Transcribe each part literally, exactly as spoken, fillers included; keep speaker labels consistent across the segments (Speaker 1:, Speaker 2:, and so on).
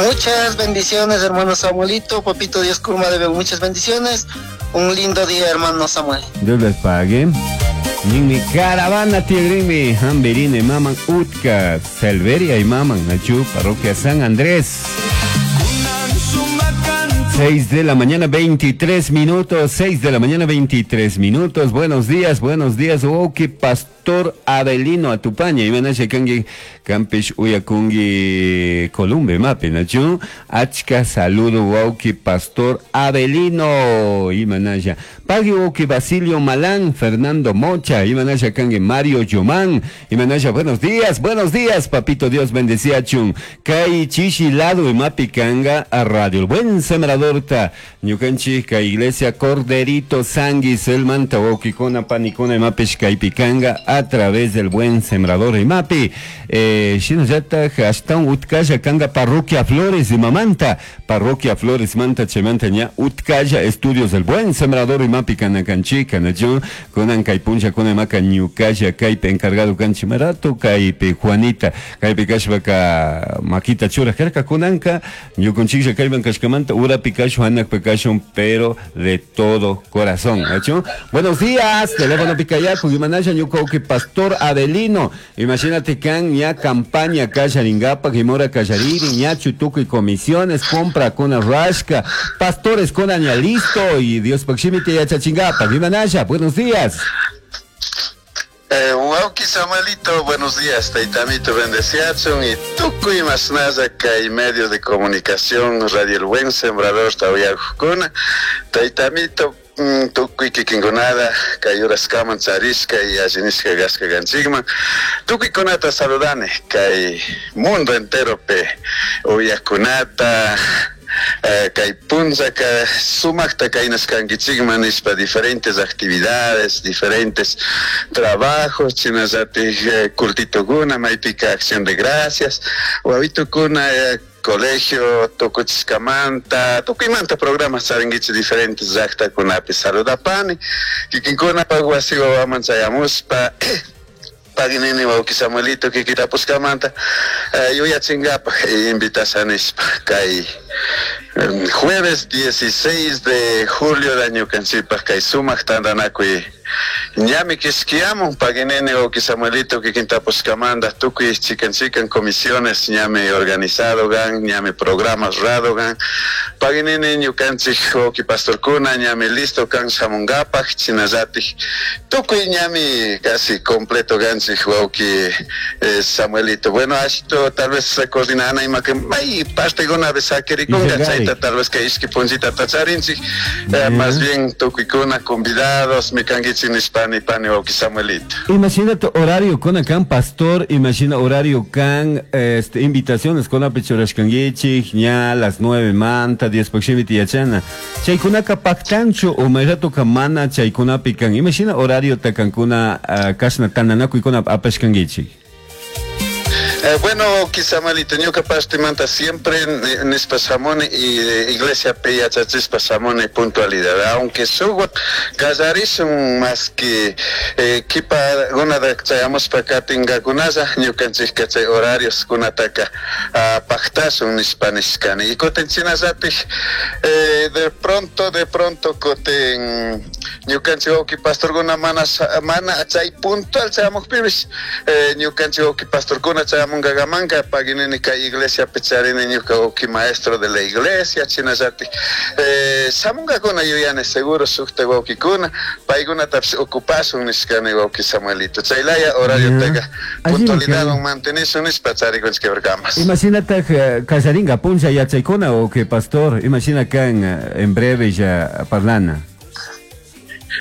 Speaker 1: Muchas bendiciones, hermano Samuelito. Papito Dios Kurma debe muchas bendiciones. Un lindo día, hermano Samuel.
Speaker 2: Dios les pague. Ninmi caravana tigrinmi hamberine maman utka Selveria y maman nachu parroquia San Andrés. seis de la mañana veintitrés minutos, seis de la mañana veintitrés minutos. Buenos días, buenos días. Oh, qué pastor Abelino Atupaña. Imanasha kangi kampish uyakungi Columbe mapi nachu. Achka saludo wauki pastor Abelino. Imanasha. Pagui wauki Basilio Malán, Fernando Mocha. Imanasha kangi Mario Yomán. Imanasha, buenos días, buenos días, papito Dios bendecía chun. Kai chishi lado y mapi kanga a radio. El buen sembrador ñukanchik kay iglesia Corderito Sanguis el manta wawkikuna panikuna imapish kaypikanga a través del buen sembrador imapi eh, shinallatak ashtawan utkalla kanga parroquia Flores imamanta parroquia Flores manta chaymanta ña utkalla estudios del buen sembrador imapi kanakanchik kanachu kunan kay punllakuna imaka ñukalla kaypi encargado kanchik marato kaypi Juanita kaypi kashpaka makita churaj karka kunanka ñukunchiklla kayman kashkamanta urapi pero de todo corazón. ¿Hecho? Buenos días, teléfono Picayacu, Imanaya Ñucauqui, Pastor Adelino. Imagínate can ya campaña Callaringapa, Gimora Callariri, Ñachu, Tucu y comisiones, compra con rasca, pastores con aña listo y Dios Paximite y Achachingapa. Imanaya, buenos días.
Speaker 3: Eh, wauki Samuelito, buenos días, Taitamito bendeciachun y tukuy masnalla kay medio de comunicación Radio El Buen Sembrador tawiyarjukuna, Taitamito mm, tukuy kikinkunada kay uraskaman charishka y allinishka gasca ganchikman, tukuykunata saludane kay mundo entero pe uyakunata. Eh, kay punllaka sumaqta kaynaskankichikman nispa diferentes actividades, diferentes trabajos, chinallatik eh, cultitokuna, maypika acción de gracias, wawitukuna eh, colegio tukuchiskamanta, tukuymanta programas charinkichik diferentes llaqtakunapi saludapani, kikinkunapaq wasi wawaman chayamuspa paginini wawki Samuelito kikitapuskamanta eh, yuyachinkapak invitashanispa kay jueves dieciséis de julio de ñukanchikpaq kay sumaq tantanakuy ñami kishkiyamun paginini wawki Samuelito kikintapuskamanta tukuy chikan chikan comisiones ñami organizado gan ñami programas rado gan paginini ñukanchik wawki pastorkuna ñami listo kan shamunkapak chinallatik tukuy ñami casi completo ganchik wawki eh, Samuelito. Bueno, ashito tal vez coordinana ima que may partekuna sakirikunka chayta tal vez que ishki punllita tacharinchik eh, más bien tukuykuna convidados mikankichik nishpani pani wawki Samuelito.
Speaker 2: Imagina tu horario con acá pastor, imagina horario can este invitaciones con apechurashkankichik ña las nueve manta diez proximity yachana chaykunaka paktanchu o mayrato mana chaykunapi kan imagina horario takankuna uh, kashna tananakuykuna apashkankichik.
Speaker 3: Eh, bueno, Samuelito, ñuka partimanta siempre nispa shamuni y iglesia yachachispa shamuni puntualidad, aunque suwa kallarishun más que eh, kipa gunada chayamuspa katinkakunalla ñukanchikka chay horarios kunataka uh, paktashun nispa nishkani y kutin chinallatik eh, de pronto de pronto kutin ñukanchik wawki pastorkuna mana mana chay puntual chayamukpipish eh, ñukanchik wawki pastorkuna chayamungamanka paginini kay iglesia picharini ñuka wawki maestro de la iglesia chinallatik eh, shamunkakuna yuyani seguro sukta wawkikuna paykunatapish ocupashun nishkani wawki Samuelito chaylaya horario taka puntualidadwan mantenishun nishpa charikunchik quebrakamas.
Speaker 2: Imaginatak kallarinka punlla yachaykuna wawki pastor, imagina kan en breve ya parlana.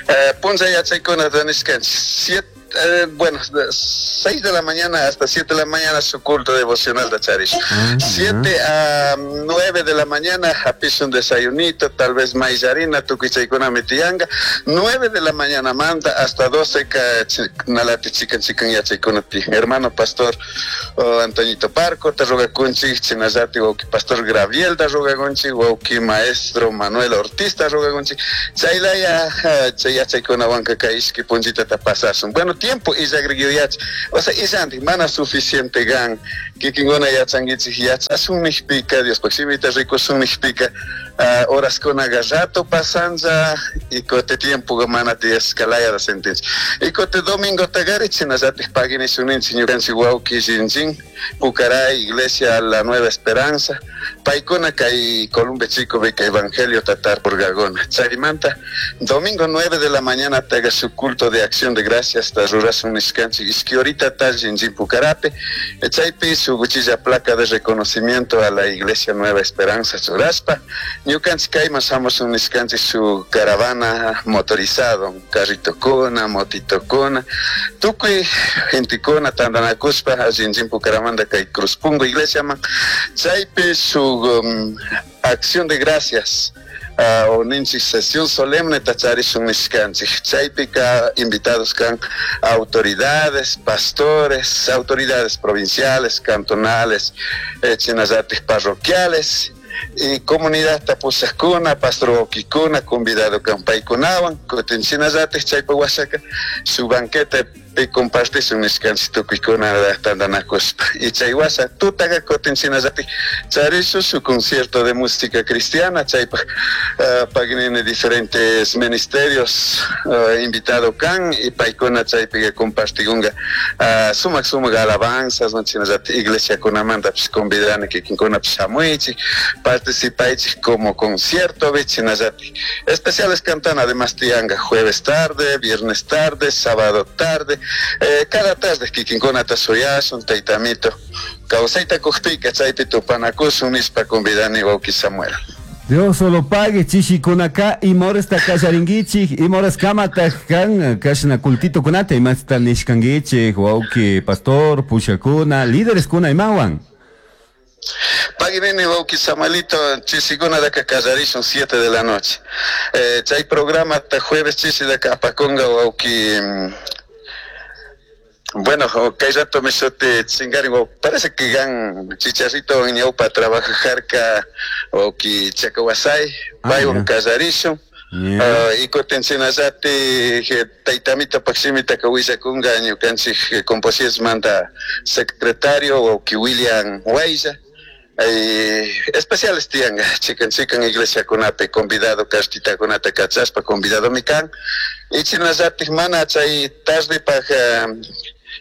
Speaker 3: Eh, punlla yachaykuna nishkanchik siete Eh, bueno, seis de la mañana hasta siete de la mañana su culto devocional de Charish. Ah, siete a nueve de la mañana hapish un desayunito, tal vez maíz harina, tukuichaykuna mitianga. nueve de la mañana manda hasta doce ka nalati chikan chikan yachaykuna ti. Hermano pastor oh, Antoñito Parco, te rogakunchik, chinallati wawki pastor Graviel da rogakunchik, wawki maestro Manuel Ortiz da rogakunchik. Chaylaya chay yachaykuna wanka kay ishki punchita ta pasasun. Bueno, tiempo y o sea, isanti mana suficiente gan Kikinguna yachankichik yachasun nishpika, Diospaj shimita rikusun nishpika, uh, horaskunaqa rato pasanlla y kote tiempo mana tiyashkalaya da sentinchik. Y kote domingo tagari chinallatik paginisuninchik ñukanchik wawki Shinjin, Pucará, Iglesia La Nueva Esperanza, paykuna kay Columbe Chico beka Evangelio tatar purgagona. Chaymanta domingo nueve de la mañana taga su culto de acción de gracias ta rurasun nishkanchik ishki horita ta Shinjin Pucarape, chaypi su guchilla placa de reconocimiento a la Iglesia Nueva Esperanza churaspa, ñukanchik kayman shamushun nishkanchik su caravana motorizado, carritokuna, motitokuna, tukuy gentekuna tantanakuspa Shinjin Pucaramanta kay Cruzpungo iglesiaman, chaypi su um, acción de gracias uh, o ninchik sesión solemne tacharishun nishkanchik, chaypika invitados kan autoridades, pastores, autoridades provinciales, cantonales, eh, chinallatik parroquiales y comunidad tapushakuna, pastor wawkikuna, convidado kan paykunawan, kutin chinallatik chaypa washaka su banquete pi compartishun nishkanchik tukuykuna tantanakuspa. Y chay washa tutaqa kutin chinallatik charishun su concierto de música cristiana, chaypaj uh, paginini diferentes ministerios uh, invitado kan y paykuna chaypiqa compartigunga uh, sumak sumak alabanzas, no chinallatik iglesiakunamantapis convidani kikinkunapis shamuychik, participaychik como concierto chinallatik especiales cantan además tianga jueves tarde, viernes tarde, sábado tarde, eh, cada tarde kikinkunata suyasun taytamito kawsayta kuqpika chaypi tupanakusun nispa convidani wawki Samuel.
Speaker 2: Dios solo pague chishikunaka imoresta kallarinkichik imores kamataq kan kashna cultito kunata imasta nishkankichik wawki pastor pushakuna líderes kuna imawan.
Speaker 3: Paginini wawki Samuelito chishikuna daka kallarishun siete de la noche. Eh, chay programa hasta jueves chishi daka apakunga wawki. Bueno, kay rato me sote chingari, parece que gan chicharrito en ñaupa trabaja jarka wawki Chacawasay, paywan kallarishun. Uh, y kutin chinallati taytamito pakshimita kawillakunga ñukanchik composismanta secretario wawki William Huaylla. Eh, especiales tianga chikan chikan iglesia kunapi convidado cartitakunata kachaspa convidado mikan y chinallatik mana chay tardepaj uh,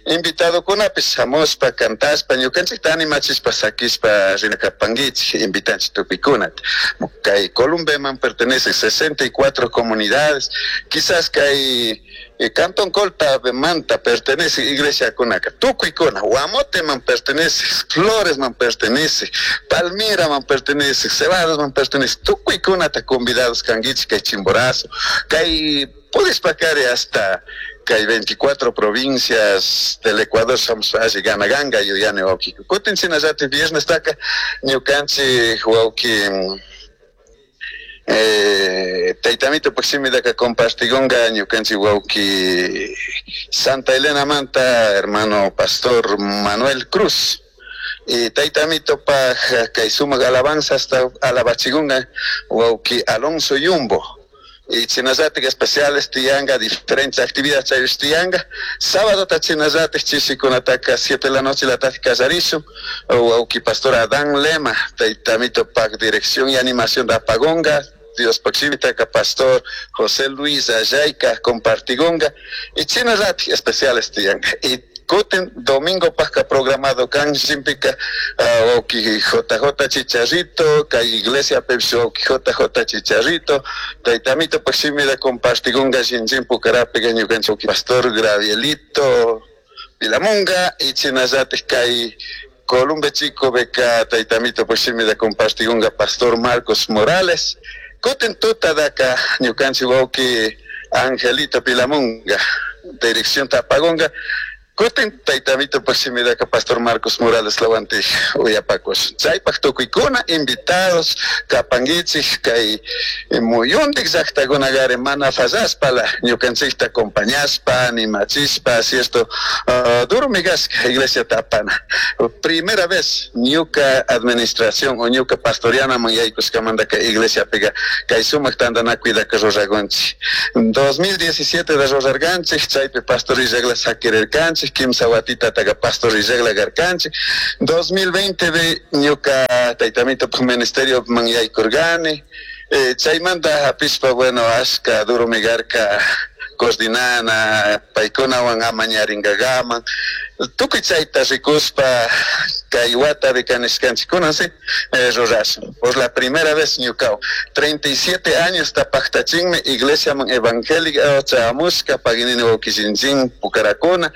Speaker 3: invitado kunapis shamuspa cantaspa ñukanchikta animachispa sakispa rinakapankichik invitanchik tukuykunata. Kay Columbeman pertenece sesenta y cuatro comunidades, quizás kay eh, Cantón Colta Manta pertenece iglesia kunaka, tukuykuna, Guamote man pertenece, Flores man pertenece, Palmira man pertenece, Cebados man pertenece, tukuykunata convidados kankichik kay Chimborazo, kay pudispakari hasta kay veinticuatro provincias del Ecuador somos así ganaganga yuyani wawki. Kutin chinallati viernes taka ñukanchik wawki eh, taytamito pakshimidaka compartigunga ñukanchik wawki Santa Elena manta hermano pastor Manuel Cruz. Y taytamito paj kay sumak alabanza hasta alabachigunga wawki Alonso Yumbo. Y chinallatik especiales tianga, diferentes actividades chayus tianga. Sábado ta chinallatik chishikunataka siete de la noche la tati kallarishun, wawki pastor Adán Lema, taytamito pak dirección y animación de apagonga, Dios pakshimita pastor José Luis Ayayka compartigonga, y chinallatik especiales tianga. Y kutin domingo pasca programado kan shimpika wawki J J Chicharrito, kay iglesia pepsi wawki J J Chicharrito, taytamito pakshimida compartigunga shinjin Pucarapi ñukanchik wawki pastor Gravielito Pilamunga, y chinallatik kay Columbe Chico beka taytamito pakshimida compartigunga pastor Marcos Morales, kutin tuta daka ñukanchik wawki Angelito Pilamunga, dirección Tapagonga. Kutin taytamito pakshimidaka pastor Marcos Morales lawantij uyapakos. Chaypaj tukuykuna invitados kapankichik kay muyuntik llaqtakunagari mana fallaspala ñukanchikta acompañaspa animachispa, cierto, uh, duro migasca iglesia tapana. Primera vez ñuka administración o ñuka pastorianaman yaykushkamantaka iglesia piga kay sumak tantanakuydaka ruragunchik. dos mil diecisiete de rurarganchik chaypi pastor illakla sakirirkanchik. Kanchik, kimsa watita taka pastor rillegla karkanchik. dos mil veinte bi ñuka taytamito ministerio man yaykurgani. Eh, chaymanta hapishpa, bueno, ashka duro migarka coordinana, paykunawan amañaringagaman. Tukuy chayta rikuspa kay watapi kanishkanchikuna, sí, eh, rurashun. Por la primera vez ñukaw, treinta y siete años tapaqtachinmi iglesia man evangélica chamushka paginini wawkishinchin pukarakuna.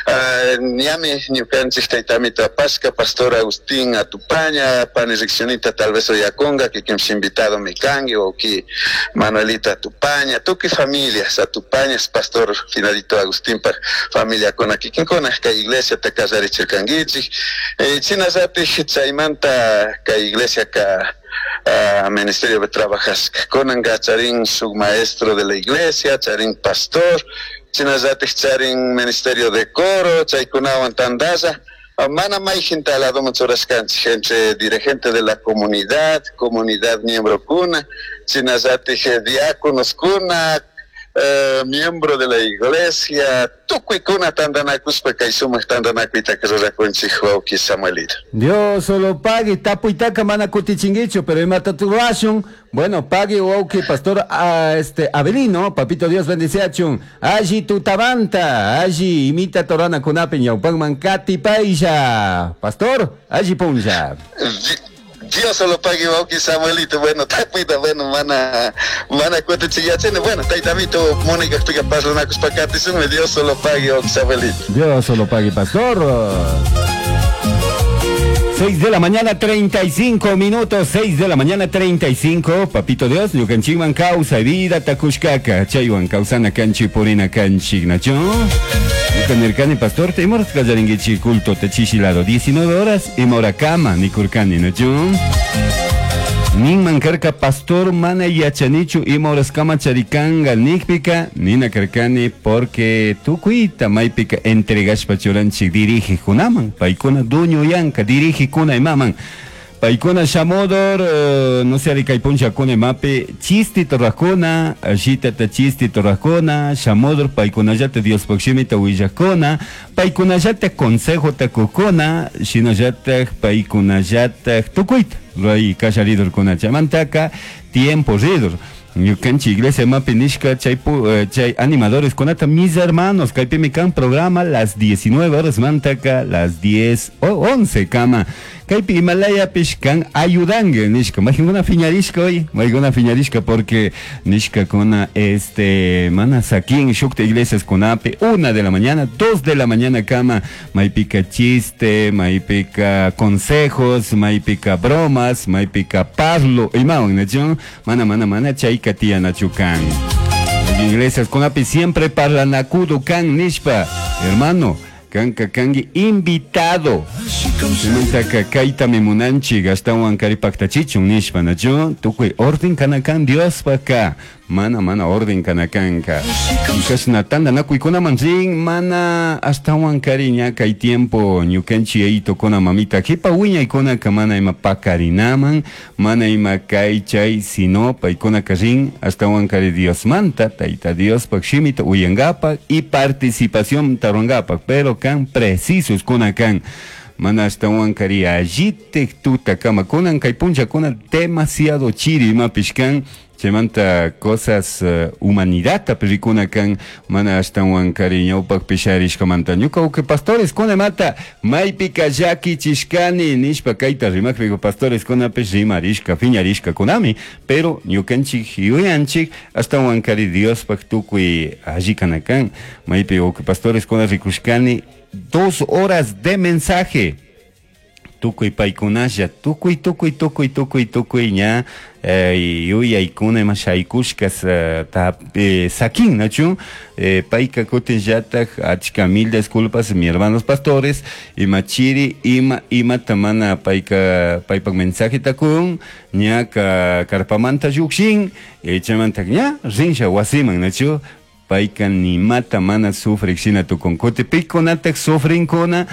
Speaker 3: Uh, ñami ñukanchik taytamito apashka pastor Agustín Atupaña, pani riksionita tal vez oyakunga, kikinpish invitado mi kanki, wawki Manuelita Atupaña, tukuy familias Atupañas, pastor Finadito Agustín pa familia kuna kikinkuna kay iglesia ta kallarichirkankichik. Eh, chinallatik chaymanta kay iglesia ka uh, ministerio de trabajashka kunanka charin suk maestro de la iglesia, charin pastor, chinallatik charin ministerio de coro, chaykunawan tandalla. Mana mayjinta ladoman churashkanchik entre dirigente de la comunidad, comunidad miembro kuna, chinallatik diáconos kuna, Uh, miembro de la iglesia, tukuykuna tantanakuspa kay sumaq tantanakuyta rurakunchik wawqi Samuelito.
Speaker 2: Dios solo pague, tapuytaka mana kutichinguichu, pero imata turashun. Bueno, pague wawqi pastor uh, este Abelino, papito Dios bendiciachun. Alli tutabanta, alli imita torana kunapi ñawpanman katipaylla. Pastor, alli punlla.
Speaker 3: Dios solo pague wawqi Samuelito, bueno, tapuyta, bueno, mana, mana kutichiyachini, bueno, taytamito, Mónica pika parlanakuspa katisunmi, Dios solo pague wawqi Samuelito.
Speaker 2: Dios solo pague, pastor. seis de la mañana, treinta y cinco minutos, seis de la mañana, treinta y cinco, papito Dios, ñukanchikman kawsay vida takushkaka, chaywan kawsana kanchi purina kanchik, nacho. Ñukanirkani, pastor, te imora kallarinkichik culto te chishilado, diecinueve horas, imora kama, nikurkani, nacho. Ninman karka pastor mana yachanichu ima horas kama charikanga nikpika, nina karkani porque tukuyta maypika entregashpa churanchik dirige kunaman, paykuna duño yanka dirige kuna imaman. Paykuna shamodor, uh, no sé, kay puncha kuna imapi, chisti torrajkuna, ashitata chisti torrajkuna, shamodor paykunallata Diospaq shimita willajkuna, paykunallata consejo takukuna, shinallata paykunallata tukuyta. Ruray kasharidorkuna chaymantaka tiempo ridor. Ñukanchik iglesia mapi nishka chay pu, chay animadores kunata mis hermanos kaypimi kan programa las diecinueve horas mantaka las diez o once kama kaypi Himalayapish kan ayudangue nishka maykuna fiñarishka hoy maykuna fiñarishka porque nishka kuna este mana sakin shukta iglesias kunapi una de la mañana dos de la mañana kama maypika chiste maypika consejos maypika bromas maypika parlo imawan nacho mana mana mana chay tianachukan. Iglesias con api siempre parlanakudo kan nishpa, hermano, kanka kangi invitado. Simantaka kaita mimunanchi gastawan karipaktachichun nishpa nacho tukuy orden kanakan Dios paka. Mana mana orden kanakanka. Kashna tanda nakuykunaman rin mana astawan kariña kay tiempo ñukanchi eito kona mamita jipa wiñaykunaka mana ima pakarinaman mana ima kay chay sino paykuna rin astawan kari Diosmanta tayta Diospak shimita uyangapak y participación tarongapak pero kan precisos kuna kan mana astawan kari allitek tuta kama kunan kay puncha kuna demasiado chiri imapish kan chaymanta cosas uh, humanidad tapirikuna kan mana astawan kari ñawpak pisharishkamanta ñuka uke pastores kuna mata maypika llakichishkani nishpa kayta rimakpika pastores kunapish rimarishka fiñarishka kunami pero ñukanchik yuyanchik astawan kari Diospaq tukuy alli kana kan maypi uke pastores kuna rikushkani dos horas de mensaje tukuy paykunalla tukuy tukuy tukuy tukuy tukuy ña eh, yuyaykuna ima shaykushkas eh, ta, eh, sakin nachu eh, payka kutinllatak achka mil disculpas mi hermanos pastores ima chiri ima imata mana payka paypak mensaje takun ña ka karpamanta llukshin eh, chaymanta ña rinsha wasiman nachu payka nimata mana sufrik shina tukun kuti pikunatak sufrinkuna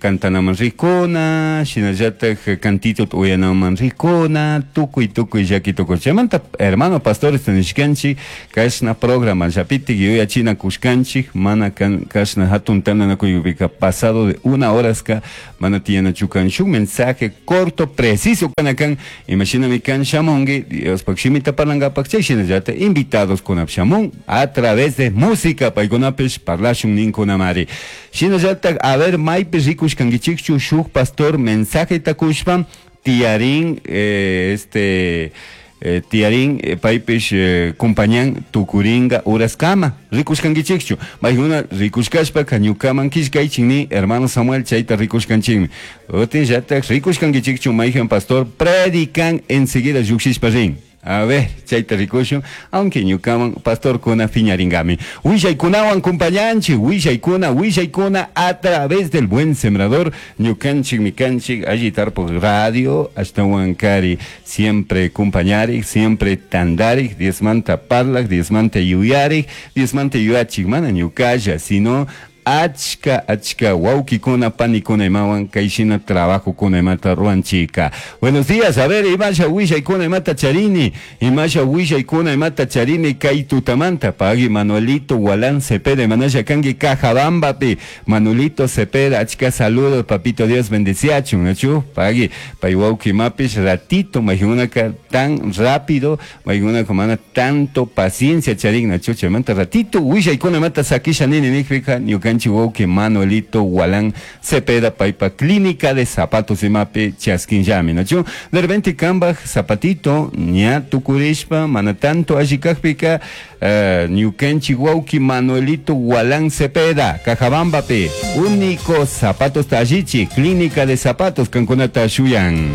Speaker 2: Cantanaman rikuna, shinallatak cantito uyanaman rikuna, tukuy tukuy llaki tukuy. Chaymanta hermano pastores nishkanchik kashna programa llapitik yuyachina kushkanchik mana kan kashna hatun tandanakuypika pasado de una horaska mana tiyanachu kan shuk mensaje corto preciso kanakan imashinami kan shamunki Diospak shimita parlangapak chay shinallatak invitados kunap shamun a través de música paykunapish parlashun ninkunamari. Shinallatak a ver maypi rikushkankichikchu shuk pastor mensaje takushpa tiarín eh, este eh, tiarín eh, paypish eh, kumpañan tukuringa uraskama rikushkankichikchu maykuna rikushkashpaka ñukaman killkaychikni hermano Samuel chayta rikushkanchikmi utinllatak rikushkankichikchu mayjan pastor predican enseguida llukshishpa rin. A ver, chayta rikushun, aunque ñukaman pastor kuna fiñaringami. Willaykunawan kumpañanchik, willaykuna, willaykuna a través del Buen Sembrador, ñukanchik, mikanchik, alli tarpuk radio, ashtawan kari, siempre kumpañarik, siempre tandarik, Diosmanta parlak, Diosmanta yuyarik, Diosmanta yuyachik, mana ñukalla, sino achka achka wawkikuna panikuna imawan kayshina trabajokuna imata ruanchika. Buenos días, a ver, imasha willaykuna imata charini, imasha willaykuna imata charini kay tutamanta, pagui Manuelito Gualán Cepeda, imanasha kanki Cajabambapi, Manuelito Cepeda, achka saludos, papito Dios bendeciachun, achu, pagui, pay wawki mapish ratito, mayunaka tan rápido, mayunaka mana tanto paciencia charin, achu, chaymanta ratito, willaykuna imata sakisha nini nikpika, ñukan wauki Manuelito Gualán Cepeda paypa clínica de zapatos imapi chaskinllami, nachu de repente kambaj zapatito ña tukurishpa mana tanto allikakpika uh, ñukanchik wauki Manuelito Gualán Cepeda Cajabambapi único zapatos tallichi clínica de zapatos kankunata shuyan.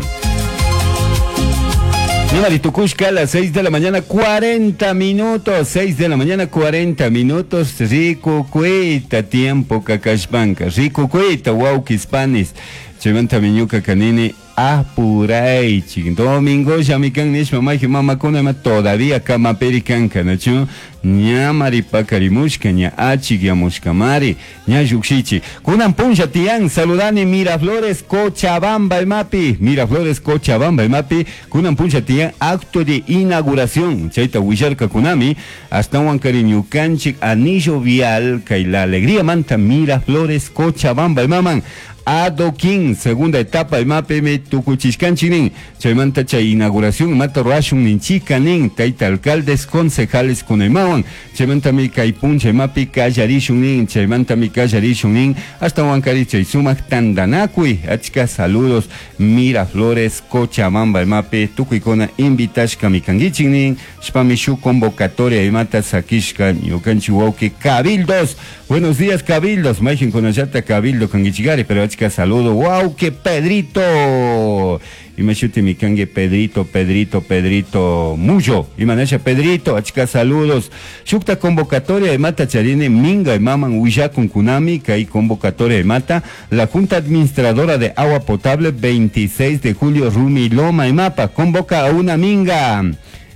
Speaker 2: Tukushka a las seis de la mañana, cuarenta minutos, seis de la mañana, cuarenta minutos, rico cuita, tiempo kakashpanka, rico cuita, wawkis panis, chaymanta ñuka kanini, apuraychik, domingo llamikan nishpa mayji mamakuna ima todavía kamapiri kanka, nachu, ña maripakarimushka, ña achikyamushkamari, ña llukshichi. Kunan punlla tiyan, saludani Miraflores, Cochabamba imapi, Miraflores, Cochabamba imapi, kunan punlla tiyan, acto de inauguración, chayta willarka kunami, ashtawan kari ñukanchik anillo vial, kay la alegría manta Miraflores, Cochabamba imaman, adoquín, segunda etapa imapi me tukuchishkanchik chaymanta chay inauguración mata ruashun ninchika nin tayta alcaldes concejales kunaymawan chaymanta mi kay puncha imapi kallarishun nin chaymanta mi kallarishun nin hasta wankari chay sumak tandanakuy achka saludos Miraflores Cochabamba imapi tukuykuna invitashka mikankichik nin shpami shuk convocatoria imata sakishka ñukanchik wawki cabildos. Buenos días cabildos, mayjin kunallata cabildo kankichikari, pero achka saludo, wow, que Pedrito. Imashuti mikangue Pedrito, Pedrito, Pedrito, Muyo. Imanasha Pedrito, achka saludos. Shukta convocatoria de mata charine minga y maman willakun kunami, kay convocatoria de mata. La Junta Administradora de Agua Potable, veintiséis de julio, Rumiloma y Mapa, convoca a una minga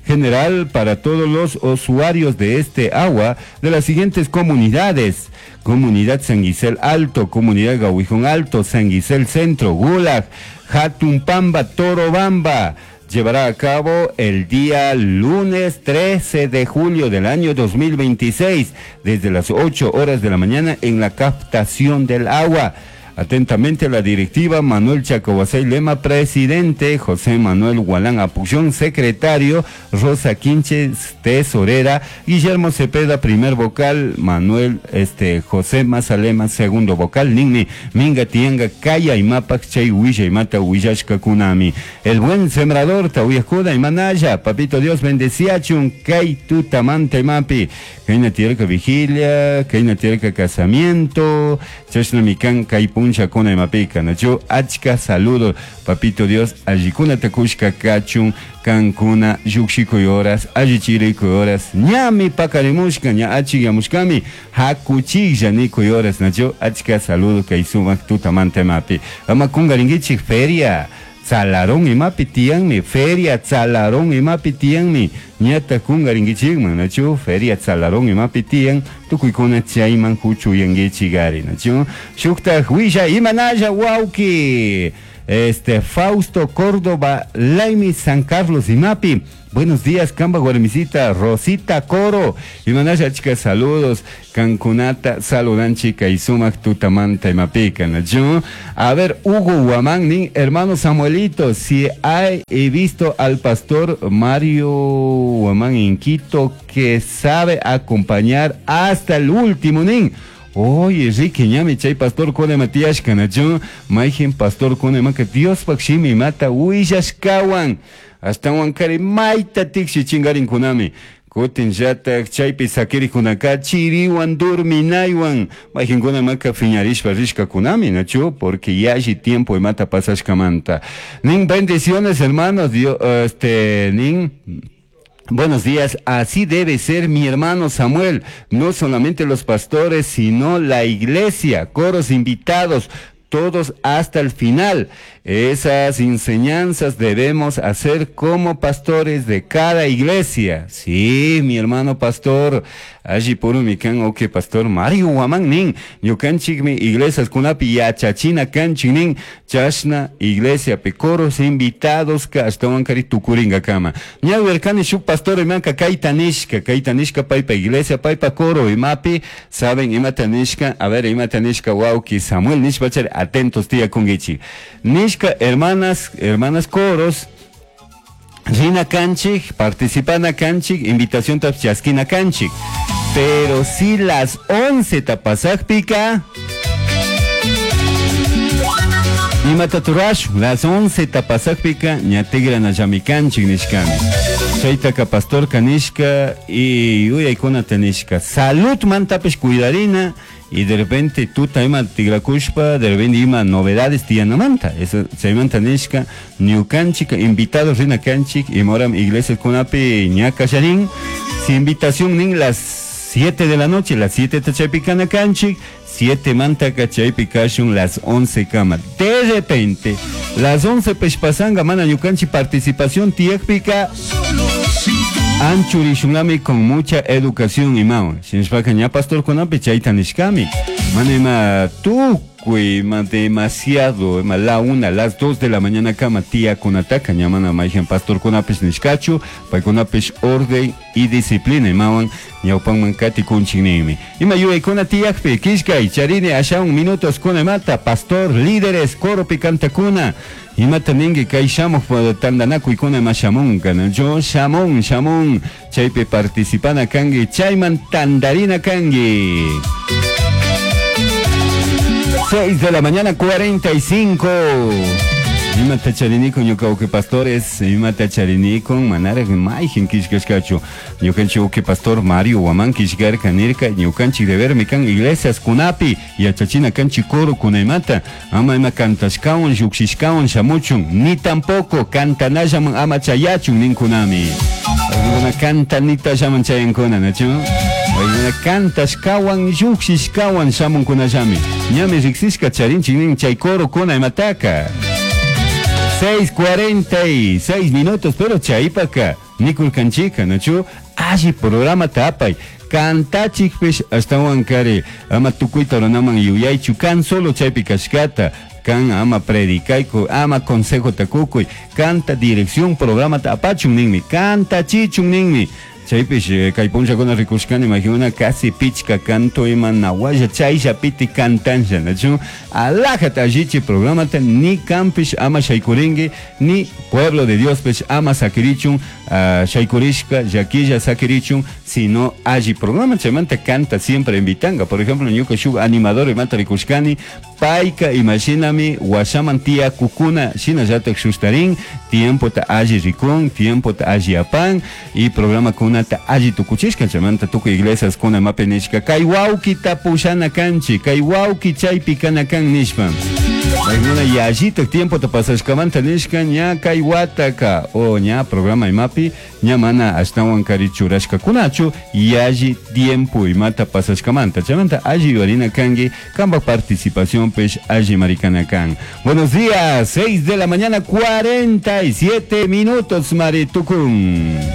Speaker 2: general para todos los usuarios de este agua de las siguientes comunidades: Comunidad San Guisel Alto, Comunidad Gahuijón Alto, San Guisel Centro, Gulag, Jatumpamba, Torobamba. Llevará a cabo el día lunes trece de julio del año dos mil veintiséis, desde las ocho horas de la mañana en la captación del agua. Atentamente la directiva: Manuel Chacohuasay Lema, presidente; José Manuel Gualán Apullón, secretario; Rosa Quinches, tesorera; Guillermo Cepeda, primer vocal; Manuel este José Mazalema, segundo vocal; Ninni Minga Tianga Kaya y Mapac Chay Huilla y Mata Huillashka Kunami. El Buen Sembrador, Tahuyajuda y Manaya, Papito Dios bendeciachun, Kay Tutamante Mapi, Kayna Tierca Vigilia, Kayna Tierca Casamiento, Chashnamikan Kaypun Chacona y Mapica, Nacho, achka saludos, papito Dios, allikuna takushka kachun, kankuna, yuxikuy horas, allichirikuy horas, ñami pakarimushka, ña achigamushkami, hakuchilla nikuy horas, Nacho, achka saludos, kay sumak tutamante mapi. Ama kungaringichik feria. Tzalarón imapi tiyanmi, Feria Tzalarón imapi tiyanmi, ñata kungarinkichikman, nachu? Feria Tzalarón imapi tiyan, tukuykuna chayman huchuyankichikari, nachu? Shuktaq willa imanalla wawki, este Fausto Córdoba Laimi San Carlos imapi. Buenos días, Kamba warmisita, Rosita Coro. Imanalla achka saludos. Kankunata saludanchika y sumak tutamanta imapika, nachu? A ver, Hugo Guamán, nin, hermano Samuelito, si hay, he visto al pastor Mario Guamán en Quito que sabe acompañar hasta el último, nin. Oye, Ricky, ñami chay pastor kone Matías kanachu, mayjin pastor kone maka Dios pakshimi mata willashkawan. Hasta wankari mayta tiksi chingarin kunami. Kutin llatak chaypi sakirikunaka chiriwan durminaywan. Mayjinkuna maka fiñarishpa rishkakunami, nachu, porque yalli tiempo imata pasashkamanta. Nin bendiciones, hermanos, Dios, este, nin. Buenos días, así debe ser mi hermano Samuel, no solamente los pastores, sino la iglesia, coros invitados, todos hasta el final. Esas enseñanzas debemos hacer como pastores de cada iglesia. Sí, mi hermano pastor, allí por mi can, ok, pastor Mario Guamán nin, ñukanchikmi iglesias kunapi yachachina kanchik nin, chashna iglesia pe coros invitados ka ashtawan kari tukuringa kama. Ñawerkani shuk pastor imanka kayta nishka, kayta nishka paypa iglesia, paypa coro imapi, saben imata nishka, a ver imata nishka wawki Samuel nishpachari, atentos tía kungichi. Nishka hermanas, hermanas coros, rina kanchik, participana kanchik, invitación tapchaskina kanchik. Pero si las once tapasakpika, imata turash, las once tapasakpika, ñatigrana llamikanchik nishkami. Chaytaka pastor kanishka y uyaykuna tanishka. Salud mantapish cuidarina. Y de repente tuta ima tigrakushpa, de repente ima novedades tiyanamanta. Eso chaymanta nishka, ñukanchik, invitados rina kanchik, y moram iglesia kunapi ñakasharin. Si invitación nin las siete de la noche, las siete tachaypikana kanchik, siete mantaka chaypikashun las once kama. De repente, las once peshpasanga mana ñukanchik participación tiyakpika, anchurishunlami con mucha educación imao. Shinshpaka ña pastor kunapi chayta nishkami. Mana ima tukuy ima demasiado, ima la una, las dos de la mañana kama tía kunataka ña mana mayhan pastor kunapish nishkachu, paykunapish orden y disciplina imawan ñawpanman kati kunchinimi. Ima yuyaykuna tiyakpi kishkay charini ashawan minutos kuna imata pastor líderes coro picantakuna. Imata ningi kay shamuq tandanakuykuna ima shamunka, yo shamun shamun chaypi participana kanki chayman tandarina kanki. seis de la mañana cuarenta y cinco. Imata charinikun ñuka uke pastores, imata charinikun manaraq mayjin kishkashkachu. Ñukanchik uke pastor Mario Guamán kishkarka nirka ñukanchik debermi kan iglesias kunapi yachachina kanchik coro kunaymata ama ima kantashkawan lluqshishkawan shamuchun ni tampoco kantanallaman ama chayachun ninkunami. Paykuna kantanitallaman chayankuna, nachu? Paykuna kantashkawan lluqshishkawan shamunkunallami. Ñami riqsishka charinchik nin chay coro kuna imataka. seis cuarenta y seis minutos, pero chaypaka nikulkanchika, nachu? Alli programa tapay. Kantachikpish ashtawan kari ama tukuyta runaman yuyaychu kan solo chaypi kashkata kan ama predicayku ama consejo takukuy kanta dirección programa tapachun ninmi kantachichun ninmi. Chaypish kay punllakuna rikushkani imagina casi pichka canto ima nawalla chaylla piti kantansha, nachu? Alajata allichi programata ni kampish ama shaykurinki ni pueblo de Dios pish ama sakirichun, uh, shaykurishka llakilla sakirichun, sino alli programa chaymanta canta siempre invitanga. Por ejemplo, ñuka shuk animador imata rikushkani payka imashinami washaman tia kukuna shinallatak shustarin tiempo ta alli rikun tiempo ta alli apan y programa kunata alli tukuchishka chaymanta tukuy iglesias kuna mapi nishka kay wawkita pushana kanchik kay wawki chaypi kana kan nishpa. Paykuna yallitak tiempota pasashkamanta nishka ña kay wataka o ña programa imapi ña mana ashtawan kari churashkakunachu yalli tiempo imata pasashkamanta chaymanta alli yuyarina kanki kampak participacionpish alli marikana kan. Buenos días, seis de la mañana cuarenta y siete minutos, maritukun.